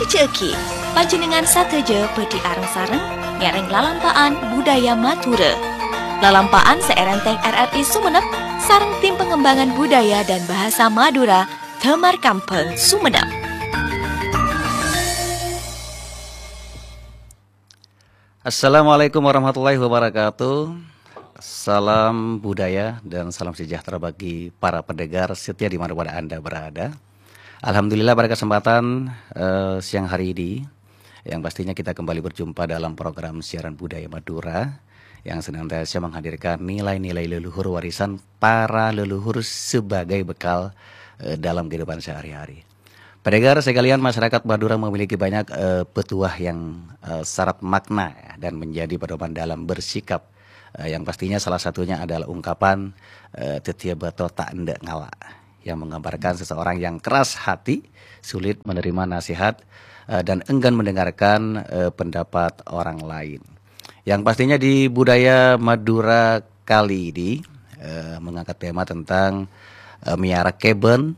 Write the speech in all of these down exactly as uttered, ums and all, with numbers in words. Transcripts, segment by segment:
Ca'aghi, panjhennengngan sadhâjâ bhâdhi areng-sareng ngèrèng lalampa'an budaya Madhurâ. Lalampa'an sè èrèntèng R R I Sumenep sareng Tim Pengembangan Budaya dan Bahasa Madura, Damar Kambhâng, Sumenep. Assalamualaikum warahmatullahi wabarakatuh. Salam budaya dan salam sejahtera bagi para pendengar setia di mana-mana Anda berada. Alhamdulillah, pada kesempatan, eh, siang hari ini, yang pastinya kita kembali berjumpa dalam program siaran Budaya Madura yang senantiasa menghadirkan nilai-nilai leluhur warisan para leluhur sebagai bekal, eh, dalam kehidupan sehari-hari. Pendengar sekalian, masyarakat Madura memiliki banyak, eh, petuah yang, eh, syarat makna, ya, dan menjadi pedoman dalam bersikap. Eh, yang pastinya salah satunya adalah ungkapan, eh, "Dhâddhiyâ bâto ta' endâ' ngala'," yang menggambarkan seseorang yang keras hati, sulit menerima nasihat, eh, dan enggan mendengarkan, eh, pendapat orang lain. Yang pastinya di budaya Madura kali ini, eh, mengangkat tema tentang, eh, mèyara kèbân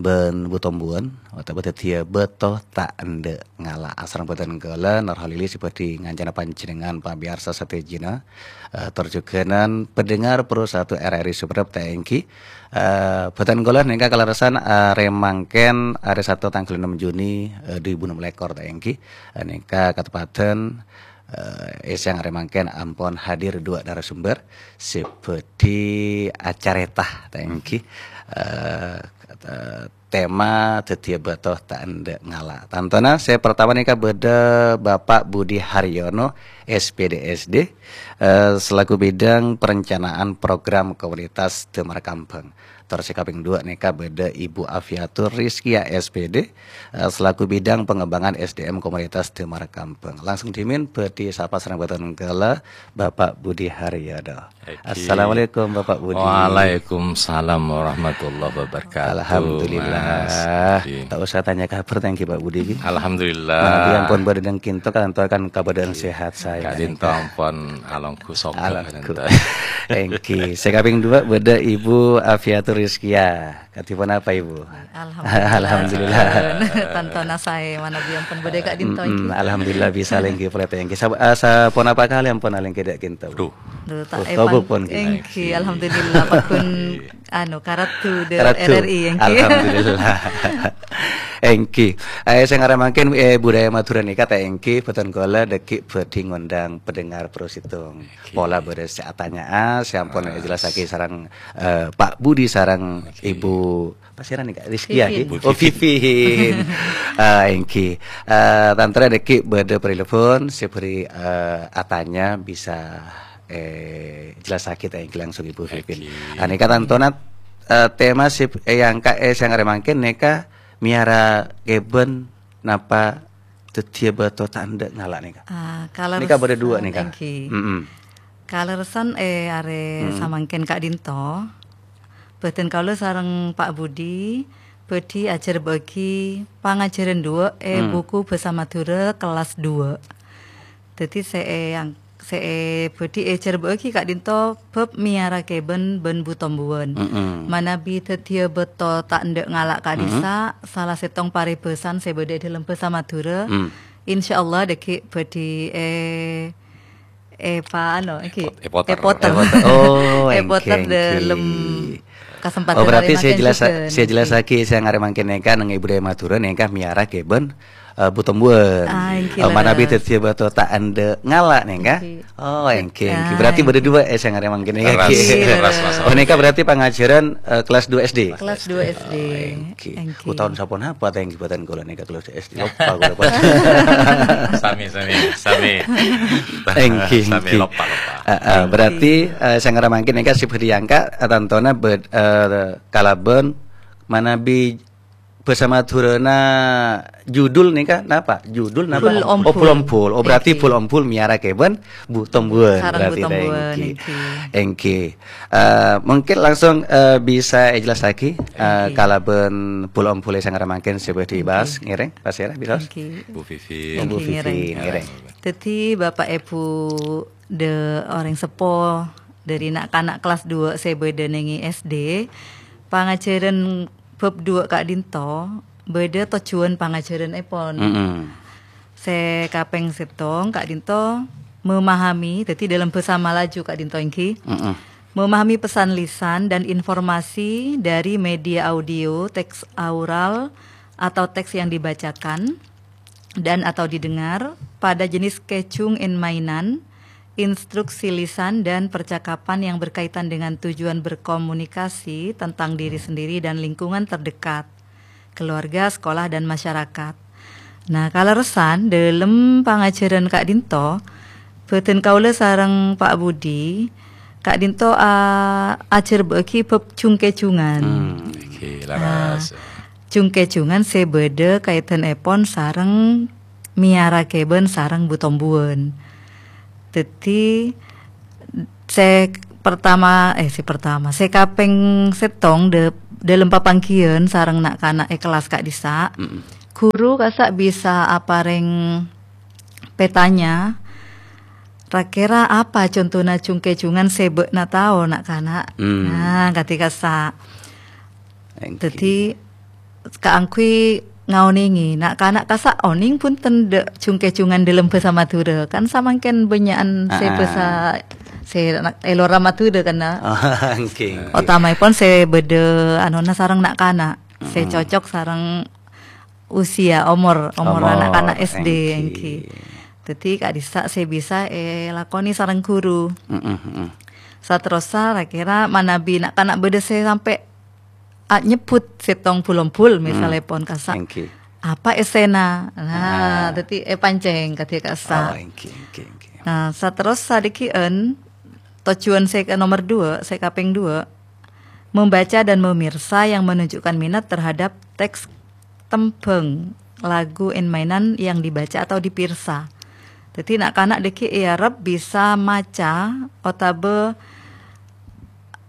bân bu-tombuwân, otabâ dhâddhiyâ bâto ta' endâ' ngala'. Asareng bhâdhân kaulâ, Nurhalili sè bhâdhi ngancana panjhennengngan pamèyarsa sadhâjâna, eh, tor jhughân pendengar Pro satu R R I Sumenep ta' èngghi. Eh, bhâdhân kaulâ nèka kalerressan arè mangkèn, arè Sabtu tangghâl ennem Juni, eh, dhu èbu ennem lèkor ta' èngghi. Eh, nèka kateppadhân, eh, è sèyang arè mangkèn ampon hadir duwâ' narasumber sè bhâdhi acarèta, ta' èngghi, eh, kata-, tema dhâddhiyâ bâto ta' endâ' ngala'. Tantona sè partama nèka bâdâ Bapak Budi Haryono, S P D S D, eh, selaku bidang perencanaan program komunitas Damar Kambhâng. Tor sè kapèng duwâ' nèka bâdâ Ibu Afiatur Rizkia, S P D, eh, selaku bidang pengembangan S D M komunitas Damar Kambhâng. Langsung dhimèn bhâdhi sapa sareng bhâdhân kaulâ Bapak Budi Haryono. Oke. Assalamualaikum, Bapak Budi. Waalaikumsalam warahmatullahi wabarakatuh, Alhamdulillah. Mas Budi. Ta' osa tanya kabhâr ta' èngghi, Pak Budi, ghi? Alhamdulillah. Manabi ampon bâdâ è ka'dinto, ka'dinto kan kabâdâ'ân sehat saè. Ka'dinto ampon alongghu soghâ. Alongghu. Èngghi. Sè kapèng duwâ' bâdâ Ibu Afiatur Rizkia. Kadhi ponapa, Ibu? Alhamdulillah. Alhamdulillah. Tantona saè, manabi ampon bâdâ è ka'dinto, mm-mm, èngghi. Alhamdulillah bisa lèngghi polè ta' èngghi. Sa-, ah, saponapa kalè ampon alèngghi è ka'dinto? Duh. Duh, ta' Oh, èpan-, èngghi. Èngghi, alhamdulillah, pagghun, anu, karadhu dâ-, Karadhu. R R I, èngghi. Alhamdulillah. Èngghi. Eh, sè ngarè mangkèn, eh, budaya Madhurâ nèka ta' èngghi, bhâdhân kaulâ dhâggi' bhâdhi ngondhâng pendengar Pro Sèttong. Oke. Pola bâdâ sè atanya'a, sè ampon Mas. èjellassaghi sareng, eh, Pak Budi sareng Oke. Ibu Pasèra nèka? Rizkia, Vivin. Ghi? Bu Oh, Vivin. Vivin. Ah, èngghi. Eh, tantona dhâggi' bâdâ penelpon sè bhâri, eh, atanya bisa, eh, jellassaghi ta' èngghi langsung Ibu Vivin. Èngghi. Ah, nèka tantona, eh, tema sè èangka', eh, sè ngarè mangkèn nèka mèyara kèbân napa dhâddhiyâ bâto ta' endâ' ngala' nèka? Ah, Nèka bâdâ duwâ' kalerressan nèka. èngghi. Mm-mm. Kalerressan è arè Hmm. samangkèn ka'dinto, bhâdhân kaulâ sareng Pak Budi bhâdhi ajhârbâ'âghi pangajhârân duwâ' è Hmm. buku Bhâsa Madhurâ kellas duwâ'. Dhâddhi sè èang-, sè è-, bhâdhi èjhârbâ'âghi ka'dinto bab mèyara kèbân bân bu-tombuwân. Mm-mm. Manabi dhâddhiyâ bâto ta' endâ' ngala' Mm-mm. ka'dhissa', sala sèttong paribhâsan sè bâdâ è dhâlem Bhâsa Madhurâ. Mm. Insyaallah dhâggi' bhâdhi è Epa, anu, èngghi. Èpot-, èpoter. Èpoter. Èpoter. Oh, èngghi, èngghi. Dâlem kasempadhân Oh, berarti arè sè mangkèn jellassa-, jhughân, sè èngghi. jellasaghi sè ngarè mangkèn nèka neng è budaya Madhurâ nèka mèyara kèbân, eh, bu-tombuwân. Ah, èngghi, Eh, manabi leres. dhâddhiyâ bâto ta' endâ' ngala' nèka. Èngghi. Oh, èngghi, èngghi. Ah, Berarti bâdâ èngghi. duwâ' è sè ngarè mangkèn nèka. Leres, Èngghi. leres, Mas Oh, nèka Aldi. berarti pangajhârân, eh, kelas duwâ S D. Kelas duwâ S D. Oh, èngghi. Èngghi. Utawa saponapa ta' èngghi bhâdhân kaulâ nèka kelas S D. Loppa kaulâ, Pak. Sami, sami, sami. Èngghi, Sami èngghi. loppa, loppa. Ah, ah, Èngghi. berarti, eh, sè ngarè mangkèn nèka sè bhâdhi èangka', eh, tantona bâd-, eh, kalabân manabi bhâsa Madhurâna judul nèka napa? Judul napa? Bul Ompul. Oh, Bul Ompul. Oh, berarti Èngghi. Bul Ompul mèyara kèbân bu-tombuwân Sareng berarti bu-tombuwân, èngghi. èngghi. Èngghi. Eh, mungkin langsung, eh, bisa èjellassaghi, eh, Èngghi. kalabân Bul Ompul sè ngarè mangkèn sè bhâdhi Èngghi. èbahas, ngèrèng, Pasèra, bisa? Èngghi. Bu Vivin. Bu Èngghi, Vivin, ngèrèng. ngèrèng. Dhâddhi, Bapak Ibu dâ-, orèng seppo dâri na'-kana' kelas duwâ' sè bâdâ neng è S D, pangajhârân bab duwâ' ka'dinto, bâdâ tojjhuwân pangajhârânèpon. Mm-mm. Sè kapèng sèttong, ka'dinto memahami, dhâddhi dalam bhâsa Malaju ka'dinto èngghi, Mm-mm. memahami pesan lisan dan informasi dari media audio, teks oral, atau teks yang dibacakan dan atau didengar pada jenis kèjung èn-mainan, instruksi lisan, dan percakapan yang berkaitan dengan tujuan berkomunikasi tentang diri sendiri dan lingkungan terdekat, keluarga, sekolah, dan masyarakat. Nah, kalerressan, dâlem pangajhârân ka'dinto, bhâdhân kaulâ sareng Pa' Budi, ka'dinto a-, ajhârbâ'âghi bab jung-kèjungan. Hmm, oke, Nah, laras. jung-kèjungan sè bâdâ kaèdhânèpon sareng mèyara kèbân sareng bu-tombuwân. Dhâddhi, sè pertama, eh, sè pertama, sè kapèng sèttong dâ-, dâlem papangghiyân sareng na'-kana' è kellas ka'dissa', Mm-mm. ghuru kassa' bisa aparèng petanya, ra-kèra apa contona jung-kèjungan sè bâ'na tao, na'-kana'? Hmm. Nah, kadhi kassa'. Èngghi. Dhâddhi, kaangghuy ngaonèngè, na'-kana' kassa' onèng bhunten dâ' jung-kèjungan dâlem bhâsa Madhurâ. Kan samangkèn bânnya'an sè Ah, ah. bhâsa sè na-, è lora Madhurâ kan, na? Oh, èngghi, èngghi. Otamaèpon sè bâdâ anona sareng na'-kana', sè Mm-mm. cocok sareng usia, omor, omor Omor, na'-kana' S D, èngghi. èngghi. Dhâddhi, ka'dissa' sè bisa èlakonè sareng ghuru. Mm-mm, mm-mm. Saterrossa, ra-kèra manabi na'-kana' bâdâ sè sampè' a-, nyebbhut sèttong bul-ombul, Mm. misalèpon kassa', Èngghi. "Apa èssèna?" Nah, Ah. dhâddhi èpancèng kadhi kassa'. Oh, èngghi, èngghi, èngghi. Nah, saterrossa dhâggi'ân, tojjhuwân sè ka nomor dua, sè kapèng dua, membaca dan memirsa yang menunjukkan minat terhadap teks tembhâng, lagu, èn-mainan yang dibaca atau dipirsa. Dhâddhi, na'-kana' dhâggi' èarep bisa maca otabâ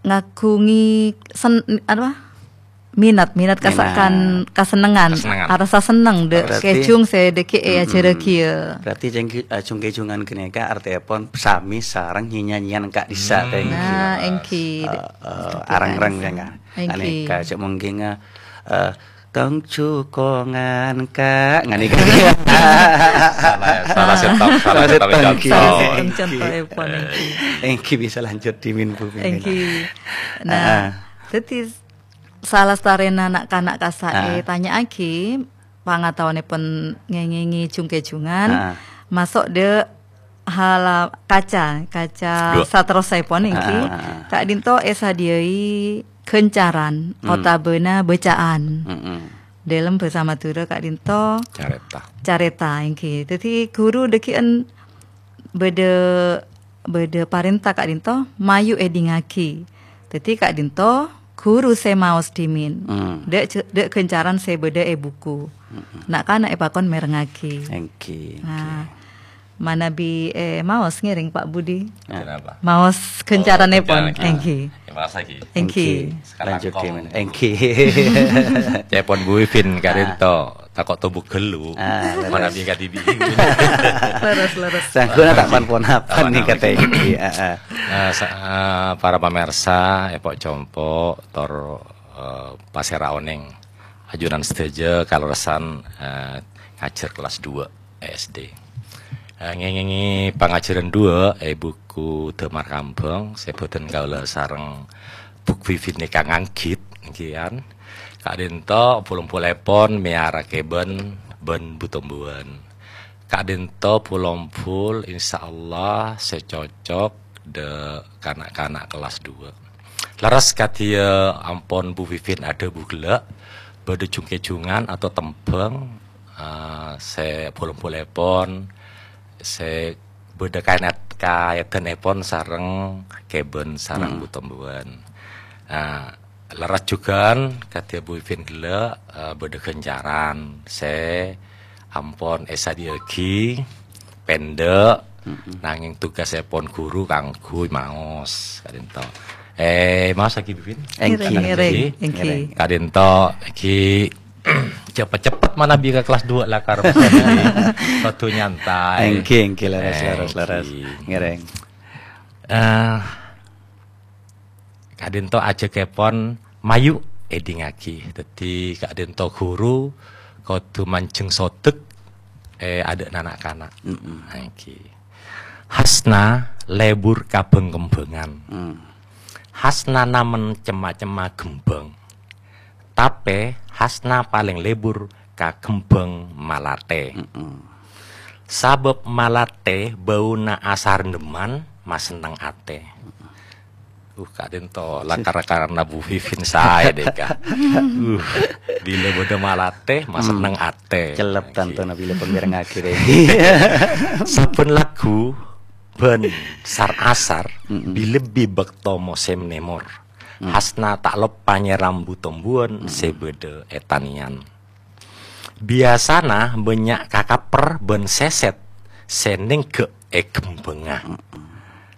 ngaghungè sen-, apa? Minat, minat kasa-, Minat. kan-, kasennengngan, Kasennengngan. arassa senneng dâ' Berarti kèjung sè dhâggi' Mm-mm. èajhârâghi, yâ. Berarti jung-, eh, jung-kèjungan ghânèka artèèpon samè sareng nyè-nyanyèyan ka'dissa', Hmm. tèngghi. Nah, èngghi. Eh, eh, Èngghi, areng-reng, kan. ya, kan? Èngghi. Ghânèka, cè' mungkin, eh, eh, "Tong jukongan, Kak." Ghânèka. Salah, salah sèttong, salah Salah sèttong sèttong, contoh. èngghi. Salah sèttong contoh, èpon, èngghi. Èngghi bisa lanjut dhimin, Bu. Èngghi. Nah, Ah. dhâddhi salastarèna na'-kana' kassa' Ah. ètanya'aghi, pangataowanèpon ngèngèngè jung-kèjungan, Ah. maso' dâ' hala-, kaca, kaca Dua. saterrossaèpon èngghi, Ah, ah, ah. ka'dinto èsadhiyâi ghâncaran Hmm. otabâna bâca'an. Mm-mm. Dâlem bhâsa Madhurâ ka'dinto Carèta. carèta èngghi. Dhâddhi ghuru dhâggi'ân bâdâ, bâdâ parènta ka'dinto mayu èdingngaghi. Dhâddhi ka'dinto ghuru sè maos dhimin. Hmm. Dâ', dâ' ghâncaran sè bâdâ è buku. Mm-mm. Na'-kana' èpakon mèrengngaghi. Èngghi, èngghi. Nah, manabi, eh, maos ngèrèng, Pa' Budi. Nah. Kenapa? Maos Oh, ghâncaranèpon, ghâncaran, èngghi. Ya, maos lagi. Èngghi. Èngghi. Sekarang Lanjut kong. gimana? Èngghi. Cèpon Bu Ivin ka'dinto, tako' tobuk ghâllu. Ah, leres. Manabi kadhibi'. Leres, leres. Sangguna tak pan-ponapan Aman, nih aman. katanya. Iya, ah, ah. Eh, sa-, eh, para pamirsa, èpo' compo', tor, eh, pasèra onèng. Ajunan sadhâjâ kalerressan, eh, ngajhâr kellas dua S D. Eh, ngèngèngè pangajhârân dua è buku Damar Kambhâng sè bhâdhân kaulâ sareng Bu Ivin nèka nganggit, èngghi, kan. Ka'dinto pol-ompolèpon mèyara kèbân bân bu-tombuwân. Ka'dinto pol-ompol, insyaallah, sè cocok dâ' kana'-kana' kellas dua. Lerres kadhiyâ ampon Bu Ivin adhâbu ghellâ', bâdâ jung-kèjungan atau tembhâng, eh, sè pol-ompolèpon, sè bâdâ kaènat-, kaèdhânèpon sareng kèbân sareng Hmm. bu-tombuwân. Eh, lerres jhughân kadhiyâ Bu Ivin ghellâ', eh, bâdâ ghâncaran sè ampon èsadhiyâaghi, pèndhâ', Mm-mm. nangèng tugasèpon ghuru kaangghuy maos, ka'dinto. Eh, maos lagi, Bu Ivin? Èngghi. Ngèrèng, ngèrèng, èngghi. Èngghi. Ka'dinto, èngghi, cepet-cepet manabi ka kellas dua lakar, Mas Adi. Kodhu nyantai. Èngghi, èngghi, lerres, lerres, lerres. Èngghi. Ngèrèng. Eh, Ka'dinto ajhâkèpon mayu èdingngaghi. Dhâddhi, ka'dinto ghuru kodhu manjheng sodek, eh, adâ'na na'-kana'. Mm-mm. Ngghi. Hasna lebur ka bhâng-kembhângan. Mm. Hasnana men cem-macemma ghembhâng. Tapè, Hasna palèng lebur ka ghembhâng malathè. Mm-mm. Sabâb malathè bâuna asarendheman masenneng atè. Uh, ka'dinto lakar-lakaranna Bu Vivin saè, dèka. Uh, bilâ bâdâ malathè, masenneng atè. Cellep tanto nabila penggerengngagi, deh. Sabbhân lagghu bân sar-asar, Mm-mm. bilebbi bâkto mosèm nèmor. Mm. Hasna ta' loppa nyèram bu-tombuwân Mm. sè bâdâ è tanèyan. Biyasana bânnya' kakapper bân sèsèt sè nèngghâ' è ghembhângnga. Mm-mm.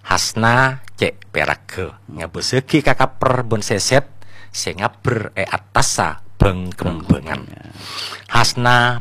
Hasna cè' pèragghâ ngabâssaghi kakapper bân sèsèt sè ngabbher è attassa bhâng-ghembhângan. Bhâng-ghembhângan. Hasna